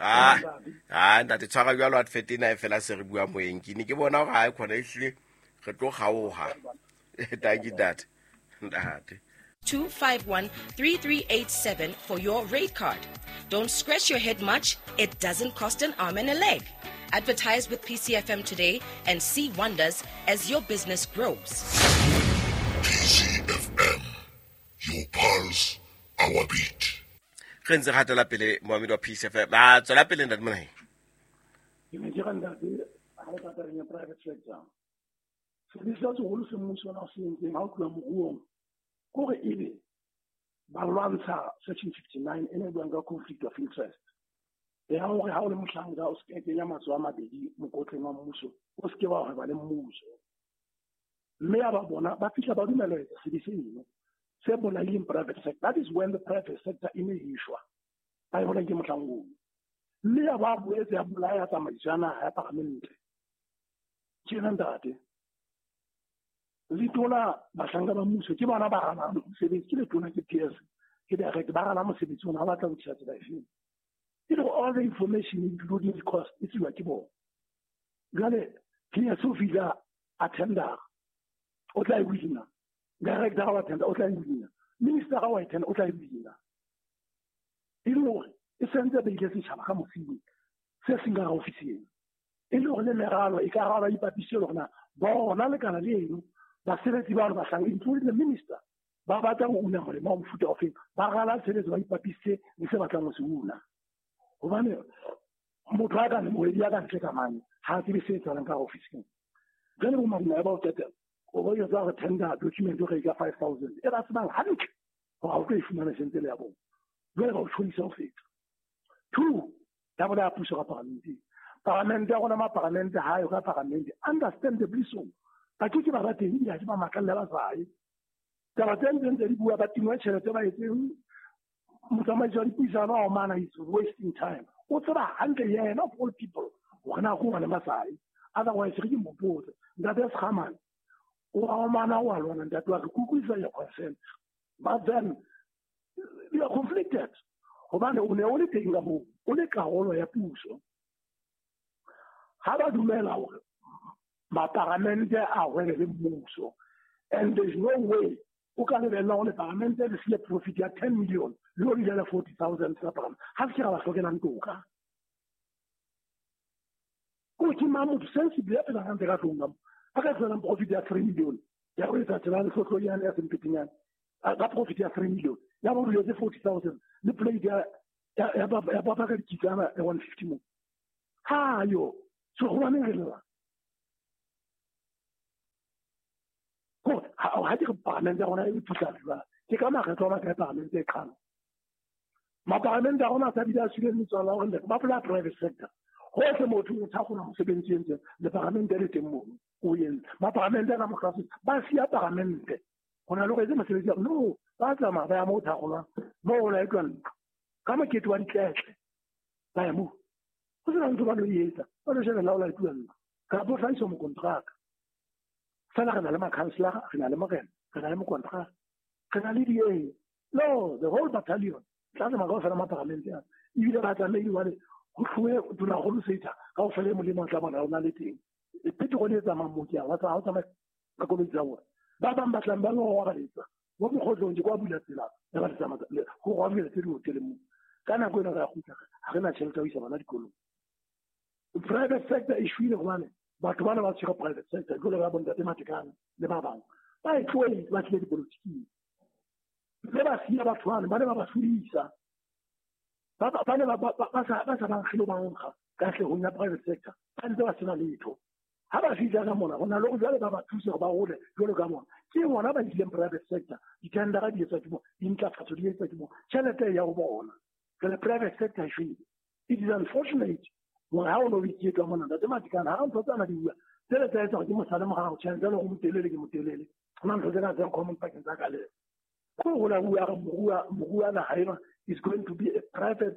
Ah, ah, ntate tshwara jwalo advert ena e fela se re bua moyeng. Ke ne ke bona hore ha e khona ehlile re tlo kgaoha. Thank you, ntate. Ntate. 251 3387 for your rate card. Don't scratch your head much, it doesn't cost an arm and a leg. Advertise with PCFM today and see wonders as your business grows. PCFM, your pulse, our beat. Re ntse re hatela pele moamedi wa PCFM. A tswela pele ntate Monaheng. Ke ne ke re ntate, ha re tla tabeng ya private sector, sebe se seholo se mmuso ona o se entseng ha o tluwa moruong, kore ebe ba lwantsha section 59 e ne e buang ka conflict of interest. Ya hore ha o le mohlanka o se kenya matsoho a mabedi mokotleng wa mmuso, o se ke wa hweba le mmuso. Mme ya ba bona ba fihla ba dumela ho etsa sebe seno se bolaileng private sector. That is when the private sector e ne e shwa. Ba e bona ke mohlang oo. Mme ya ba boetse ya bolaya tsamaiso ya naha ya paramente. Tjena ntate, letona bahlanka ba mmuso ke bona ba ralang mosebetsi, ke letona ke PS, ke direct ba ralang mosebetsi ona, ha ba tla ho tjha tsela efeng. E le all the information including the cost e tsiwa ke bona. Jwale PS o fihla a tender, o tla e wina. Director wa tender o tla e wina. Minister wa tender o tla e wina. E le hore e sentse beile setjhaba ka mosing se seng ka ofising. E le hore le meralo e ka ralwa ipapiswe le hore na bona lekala leno basebetsi ba bahlanka including the minister ba batla ho una molemo wa mofuta ofeng, ba rala tshebetso ba ipapisitse le se batlang ho se una. Hobane motho a ka mohwebi ya ka ntle ka mane ha a tsebe se etsahalang ka ofising. Jwale bo madima ba o qetela o bo jwetsa hore tender document o re ka 5,000 e ba tsebang hantle hore ha o tlo e fumana sentse le ya bona. Jwale ba o tjhodisa ho feta. 2, ya bona ya puso ka paramenteng. Paramente ya rona, maparamente ha yo ka paramente, understandably so. Ba ke ke ba ba teng, ebile ha ke ba makalle ba sa ye. Taba tse ntseng tse di bua, ba tingwe tjhelete ba etseng motsamaisi wa dipuisano wa omana is wasting time. O tseba hantle yena of all people hore na ko hobane ba sa ye. Otherwise re ke mo botse. Ntate Sekgamane, o a omana o a lwana ntate wa re kutlwisisa your concern. But then you are conflicted. Hobane o ne o le teng ka moo, o le karolo ya puso. Ha ba dumela hore maparamente a hwebe le mmuso, and there is no way o ka lebella hore leparamente le siye profit ya 10 million le o le 40,000 tsa paramente. Ha se ke ra ba hlokelang toka. Ko ke mang motho sensible ya phelang hantle ka tlung ka mo, a ka tlohelang profit ya 3 million ya ho etsa tsela le hlohlonyane ya sempetenyane, ka profit ya 3 million ya bo duletse 40,000 le plate ya papa ka dikitsana ya 150 mo. Ha yo, so hobaneng re lla? Ko ha ke re paramente ya rona e phutlana jwang? Ke ka makgetlo a makae paramente e qala? Maparamente a rona a sa bile a tswile metswalo ya hore ba bolaya private sector. Hohle motho o thakgola mosebetsi e entseng, le paramente le teng mono, o entse. Maparamente a ka mohlwa ba siya paramente. Ho na le hore etse mosebetsi ya no, ba tsamaya ba ya moo thakgolwang, moo ho laetwa ntlo. Ka mokete wa ditletle, ba ya moo. Ho sena ntho ba lo etsa, ba lo shebella ho laetuwa ntlo. Kapa ho hlahiswa mokontraka. Feela re na le makhanselara, re na le morena, re na le mokontraka, re na le di-A. No, the whole battalion. Tla tsamaya kaofela maparamente ana. Ebile ba tlamehile hobane ho tlohe Tonakgolo Setha kaofela e molemo o tla bona o na le teng. Petrol e tsamayang moo ke ya, wa tsamaya, ha o tsamaye ka koloi tsa bona. Ba bang ba tlang ba lo robaletsa mo mokgotlong ke kwa bula tsela ya ba tsamaya ho robaletsa tse di-hoteleng moo. Ka nako ena re a kgutla, ha re na tjhelete ya ho isa bana dikolong. Private sector e shwele hobane batho bana ba tshwere private sector jwalo ka bontate Matekane le ba bang. Ba e tlohetse, ba tlile dipolotiking. Mme ba siya batho bana, ba ne ba ba hlodisa. Ba ne ba sa ba nkge le ba nkga katlehong ya private sector. Ba ntse ba sena letho. Ha ba fihla ka mona, ho na le hore jwale ba ba thuse hore ba hole jwalo ka bona. Ke bona ba ileng private sector. Ditendera di etswa ke bona, dintlafatso di etswa ke bona. Tjhelete e ya ho bona. Jwale private sector e shwele. It is unfortunate hore ha o no iketla mona, Ntate Matekane, ha ntho tsena di bua, tsele tsa etsa hore ke mosale morao, tjhe, jwale o motelele ke motelele. Ho na ntho tsena tse common pakeng tsa ka le. Ko ho la bua re moruo naha ena is going to be a private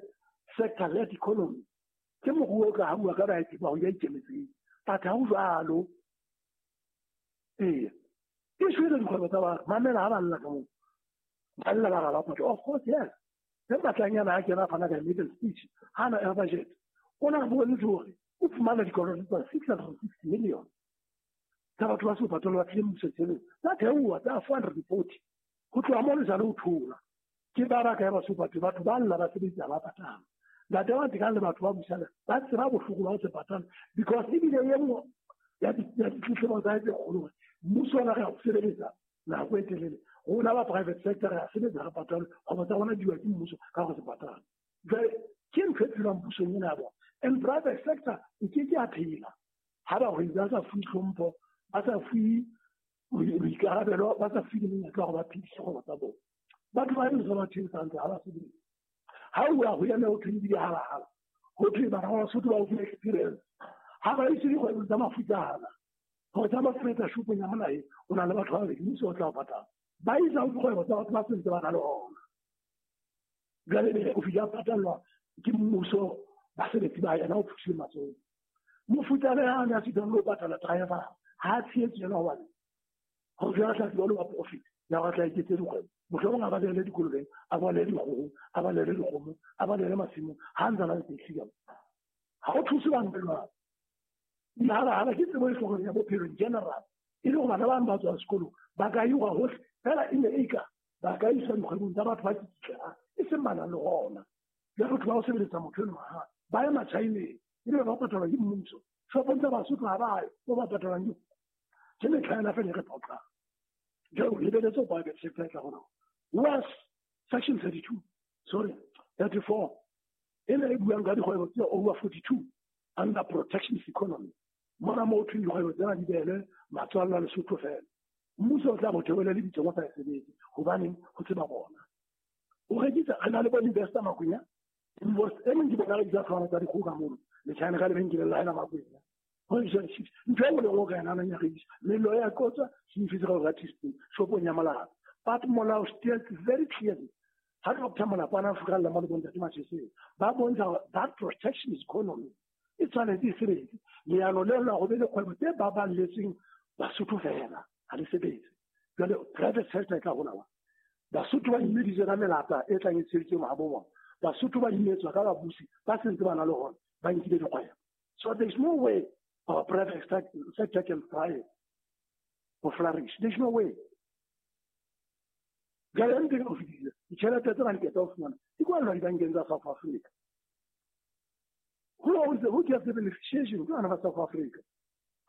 sector led economy. Ke moruo o tla ha bua ka baeti ba ho ya ikemetseng. But ha ho jwalo. Ee. E shwele dikgwebo tsa batho. Mamela ha ba lla ka moo. Ba lla ba rala patlo. Of course, yes. Ge Matlanyana a kena fana ka maiden speech ha na ya budget, o na bontshe hore o fumana dikoloto tsa 660 million tsa batho ba se patalo ba tlile mmuso tshebetso tsa theoha tsa 440 ho tloha mo le sale o thola ke ba ba kae ba se batho ba lla ba sebetsa ba patala. Ntate wa tekang le batho ba busana ba tseba bohloko ba ho se patala because ebile e nngwe ya ditletlebo tsa tse kgolo hore mmuso ona re a o sebeletsa nako e telele, rona ba private sector re a sebetsa re patale, kgwebo tsa rona diwa ke mmuso ka go se patala. Jwale ke ntho e phelwang pusong ena ya bona. And private sector e ke ke ya phela ha bahwebi ba sa fuwe tlhompho, ba sa fuwe boikarabelo, ba sa fuwe le monyetla wa hore ba phedise kgwebo tsa bona. Batho ba heso ba theosang ntse ha ba sebetse. Ha o ya ho eme ho thwe di halahala, ho thwe bana ba Basotho ba o file experience. Ha ba ise dikgwebo tsa mafutsana, gore tsa mafuetsa shopong ya molae o na le batho ba babedi, mmuso o tla o patala. Ba isa ho dikgwebo tsa batho ba sentse ba na le ona. Jwale ebe o fihla patallwa ke mmuso, basebetsi ba yena o phusile matsoho. Mofutsana ya ne a sitang le ho patala driver ha a tshehetse yena hobane ho jwala tla tseba le wa profit ya go tla iketse dikgwebo. Mohlomong a balele dikolobeng, a balele dikgoho, a balele dikgomo, a balele masimong, ha ntse a na le taxi ka mo. Ha o thuse bana ba jwalo. Dihalala ke tsebo e hlokang ya bophelo in general, e le hore bana ba bang ba tswang sekolong ba ka iwa hohle fela e ne e ka ba ka iswa dikgwebong tsa batho ba tsitsitlelang, e seng ba nang le hona. Jwale batho ba ho sebeletsa motho enwa ha ba ye Machineng, ebe ba patalwa ke mmuso. Shopong tsa Basotho ha ba ye mo ba patalwang ke ke metlha ena fela e re phoqang. Jwale o lebeletse ho private sector e tla rona. Was section 32, sorry, 34, e ne e buang ka dikgwebo tse over 42 under protectionist economy. Mona mo thweng dikgwebo tsena di behelwe matswalla a Lesotho fela. Mmuso o tla bo theohele lebitso ba sa e sebetse hobaneng ho tseba bona. O rekisa re na le bo investor Makwenya. Invest e meng ke bona rekisa tshwana tsa dikgoho ka mono. Letjhane ka lebenkeleng la hae la Makwenya. Ho rekisa di-chips. Ntho e nngwe le nngwe o ka e nahanang ya rekisa. Mello ya qotswa, se ka teaspoon, shopong ya molao. But molao states very clearly ha Dr. Molapana a furalla mo le bontate Macheseng, ba bontsha that protectionist economy e tshwanetse e sebetse. Leano leo la go be le kgwebo tse baballetsweng Basotho fela ha le sebetse. Jwale private sector e tla hola wa. Basotho ba imeditswe ka melata e tlang e tsheditswe mahabo bona. Basotho ba imetswa ka babusi ba sentse ba na le hona, ba nkile dikgwebo. So there is no way our private sector can thrive or flourish. There is no way. Jwale ntse ke o fetile ditjhelete tsena di qeta ho fumana di kwallwa dibankeng tsa South Africa. Who owns the, who gets the beneficiation? Ke bana ba South Africa.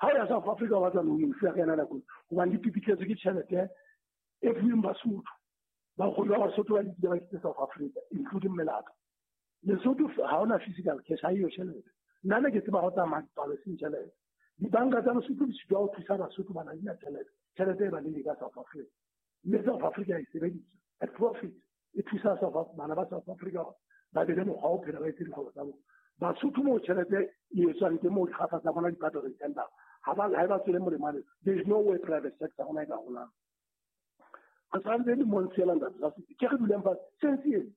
Ha o ya South Africa o batla loan ya ka yena nako hobane di pipitletswe ke tjhelete e fuweng Basotho. Bakgolo ba Basotho ba dikile ba kitse South Africa including melata. Lesotho ha ona physical cash, ha eyo tjhelete. Nna ne ke tseba ho tsamaya dipalo seng tjhelete. Dibanka tsa Lesotho di sitwa ho thusa Basotho ba na di na tjhelete. Tjhelete e ba le ka South Africa. Mme South Africa e sebedisa at profit e thusa South bana ba South Africa ba be le mokgwa o phela ba etse dikgwebo tsa bona. Basotho moo tjhelete e etswang teng moo dikgafa tsa bona di patalwa di-tender ha ba ha e ba tswele molemo. There is no way private sector rona e ka holang. Re tshwanetse le mo ntshela ntate sa ke re duleng fatshe sense eno.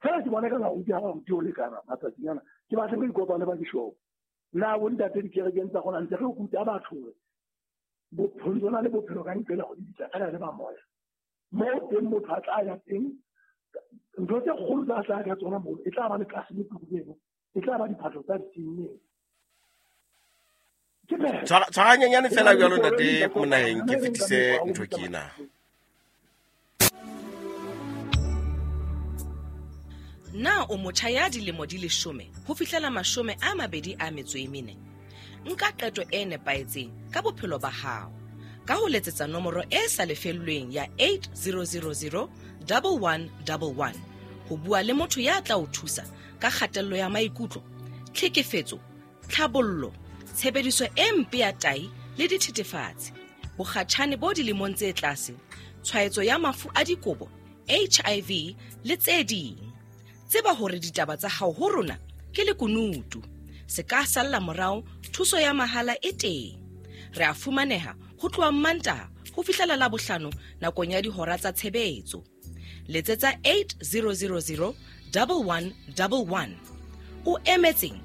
Fela ke bona ka baruti ha baruti o lekana matsatsing ana ke batle re ikopane ba dishopo. Na bo ntate dikerekeng tsa rona ntse re ruta batho hore bophelo le bophelo ka ntle le go di bitsa fela le ba moya. Mo teng motho a tla ya teng ntho tse kgolo tsa tla ka tsona moo e tla ba le tlase le eno, e tla ba diphahlo tsa ditinneng. Tshwaranyenyane fela jwalo ntate Monaheng ke fetise ntho ke ena. Na o motjha ya dilemo di 10 ho fihlela 24? Nka qeto e nepahetseng ka bophelo ba hao ka ho letsetsa nomoro e sa lefellweng ya 8000 1111 ho bua le motho ya tla o thusa ka kgatello ya maikutlo, tlhekefetso, tlhabollo, tshebediso e mpe ya tai le dithethefatsi, bokgatjhane bo dilemong tse tlase, tshwaetso ya mafu a dikobo, HIV le tse ding. Tseba hore ditaba tsa hao ho rona ke lekunutu. Se ka salla morao, thuso ya mahala e teng. Re a fumaneha ho tloha Mantaha ho fihlela Labohlano nakong ya dihora tsa tshebetso. Letsetsa 8000 1111. O emetseng?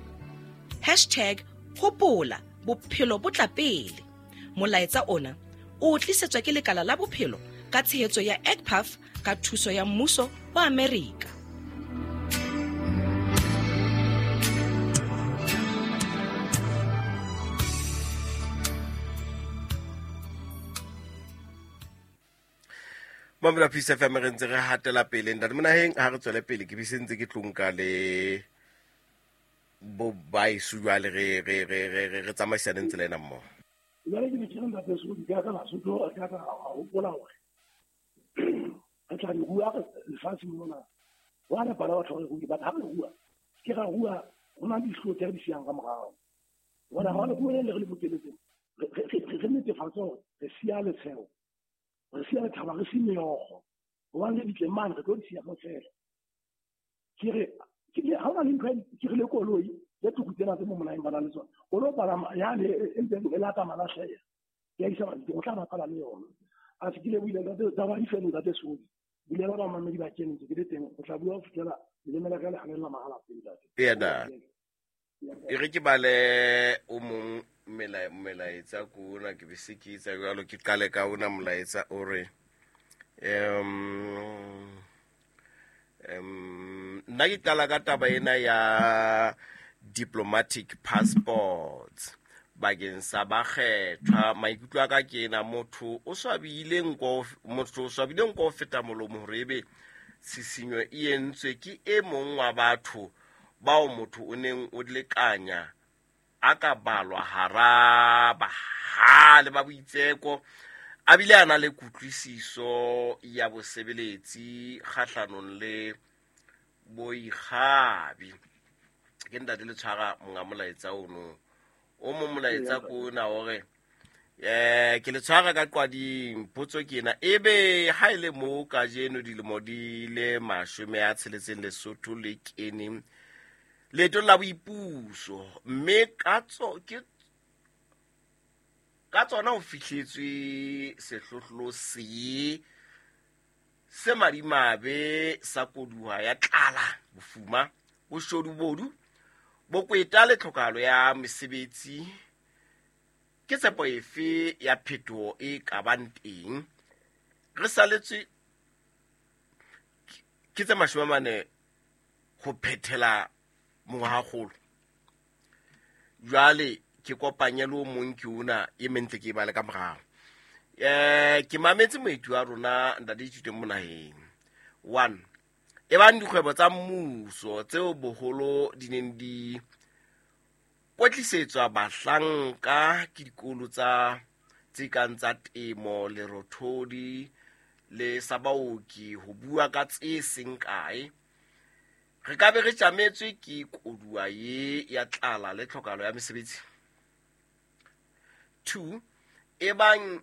Hashtag hopola bophelo bo tla pele. Molaetsa ona o tlisetswa ke lekala la bophelo ka tshehetso ya EGPAF ka thuso ya mmuso wa Amerika. Mamela Peace FM, re ntse re hatela pele. Ntate Monaheng, ha re tswele pele, ke bese ntse ke tlonka le bo baeso jwale re tsamaisaneng tsela ena mmoho. Jwale ke ne ke re ntate Sodi, ka ka Basotho, ka ka hopola hore re tla di rua lefatsheng mona. Wa re bana batho re rue, but ha re rua, ke ra rua, ho na le dihlooho tse re di siyang ka morao. Bona ha le rua le re le bokeletseng, re netefatse hore re siya letsheo, re siya lethaba, re si meokgo. Hobane le ditle mane re tlo di siya kaofela. Ke re ha hona le ntho ke re le koloi le tuku tsena tse mo monaheng ba na le tsona. O lo palama yane e ntseng e lata malahleha. Ya isa mabitleng, o tla bapala le yona. A se ke lebohile ntate, taba di fele ntate Sodi. Bulela bamamedi ba kene ntse ke le teng, o tla bua ho fihlela leleme la ka le hanella mahala pele ntate. Eya na. E re ke bale o mong melaetsa ko ona, ke be se ke etsa jwalo, ke qale ka ona molaetsa o re, nna ke qala ka taba ena ya diplomatic passports bakeng sa bakgethwa. Maikutlo a ka ke ena, motho o swabile nko, motho o swabile nko ho feta molomo hore ebe tshisinyo e entswe ke e mong wa batho bao motho o neng o lekanya a ka balwa hara bahale ba boitseko, a bile a na le kutlwisiso ya bosebeletsi kgahlanong le boikgabi. Ke ntate le tshwara monga molaetsa ono. O mong molaetsa ko ona hore, ke le tshwara ka qwading, potso ke ena, ebe ha e le moo kajeno dilemo di le 60 Lesotho le kene leetong la boipuso, mme ka tsona ho fihletswe sehlohlolo se madimabe sa koduwa ya tlala, bofuma, boshodu-bodu, bokweta le tlhokahalo ya mesebetsi. Ke tshepo efe ya phetoho e ka bang teng? Re saletswe ke tse 40 ho phethela mongwahakgolo. Jwale ke kopanye le o mong ke ona e mentle ke e bale ka morao. Ke mametse moeti wa rona ntate Ithuteng Monaheng. 1, e bang dikgwebo tsa mmuso tseo boholo di neng di kwetlisetswa bahlanka ke dikolo tsa tse kang tsa temo, lerothodi le sa baoki, ho bua ka tse seng kae, re ka be re tjametswe ke koduwa ye ya tlala le tlhokahalo ya mesebetsi. 2, e bang